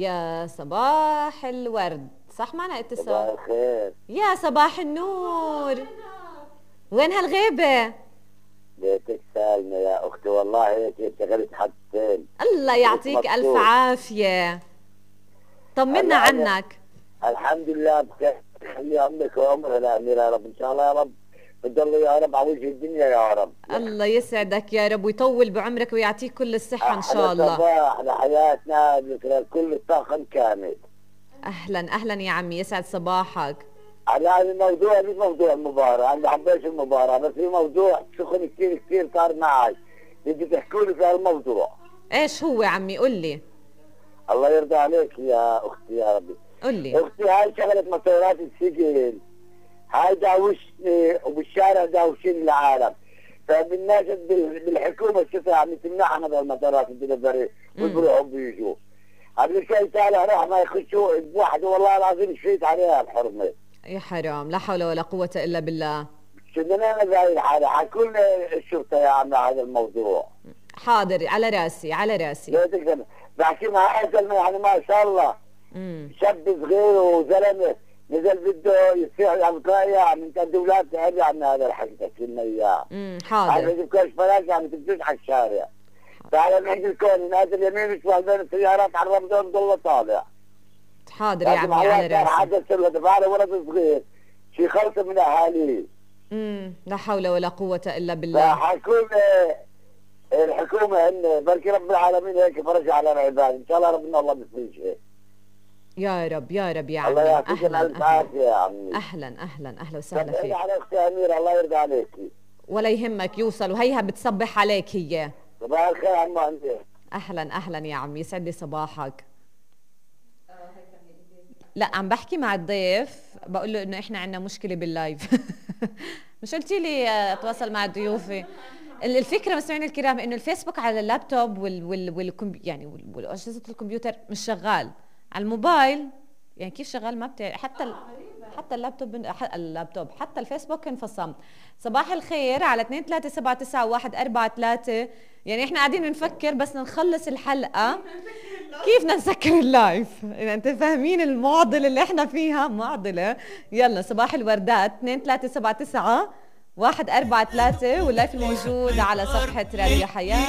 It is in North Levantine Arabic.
يا صباح الورد. صح معنا اتصال؟ صباح الخير. يا صباح النور. وين هالغيبة؟ بيتك سالمة يا أختي، والله هيك اشتغلت حدثين. الله يعطيك ألف عافية. طمنا عنك. الحمد لله بخير، خلي عمرك وعمرها الأمير يا رب، إن شاء الله يا رب بتضل يا رب على وجه الدنيا يا رب. الله يسعدك يا رب ويطول بعمرك ويعطيك كل الصحة إن شاء الله. صباح لحياتنا ذكرى كل الطاقم كامل. أهلا أهلا يا عمي، يسعد صباحك. أنا الموضوع مش موضوع المباراة، أنا بحبش المباراة، بس في موضوع سخن كثير كثير صار معي، بدي تحكوا لي في هالموضوع. إيش هو عمي؟ قل لي. الله يرضى عليك يا أختي يا ربي. قل لي. أختي هاي شغلة مسيرات السجن، هاي داوشني وبالشارع داوشين العالم، فبالناشد بالحكومة شو عم تمنعنا بالمسارات الدليفري وبيروحوا بيجوا. قبل شوي طالع راح ما يخشوا بواحد والله العظيم شفيت عليها الحرمة. يا حرام، لا حول ولا قوة إلا بالله. شو بدنا نعمل بهاي الحالة؟ حكوا لنا الشرطة يا عم هذا الموضوع. حاضر، على راسي على راسي. لا تقدر بحكي مع زلمة يعني ما شاء الله. شاب صغير وزلمة نزل بده يصيح الأبقاء يعني انت الدولات تعري عن هذا الحكي تحكي لنا اياه. حاضر. عم يجيب كاش فلاش عم تمشيش على الشارع. تعال نحكي الكون نازل يمين وشمال بين السيارات على الرمضان ضل طالع. حاضر يا عمي على راسي. حدث له دفع ولد صغير شي خلطة من اهاليه. لا حول ولا قوة الا بالله. فحكوا الحكومة ان بركي رب العالمين هيك فرج على العباد، ان شاء الله ربنا الله بيفرجها. يا رب يا رب يا عمي. الله يعطيك الف عافية يا عمي. اهلا اهلا اهلا وسهلا فيك. على اختي اميرة الله يرضى عليكي. ولا يهمك يوصل، وهيها بتصبح عليك هي. صباح الخير عم عندي. اهلا اهلا يا عمي، يسعد لي صباحك. لا عم بحكي مع الضيف بقول له انه احنا عندنا مشكله باللايف. مش قلتي لي اتواصل مع ضيوفي؟ الفكره مستمعينا الكرام انه الفيسبوك على اللابتوب والاجهزه الكمبيوتر مش شغال، على الموبايل يعني كيف شغال ما بتعرف. حتى اللابتوب حتى الفيسبوك انفصم. صباح الخير على 2379143. يعني احنا قاعدين بنفكر بس نخلص الحلقه كيف بدنا نسكر اللايف. يعني انت فاهمين المعضله اللي احنا فيها؟ معضله. يلا صباح الوردات 2379143 واللايف الموجود على صفحه راديو حياه.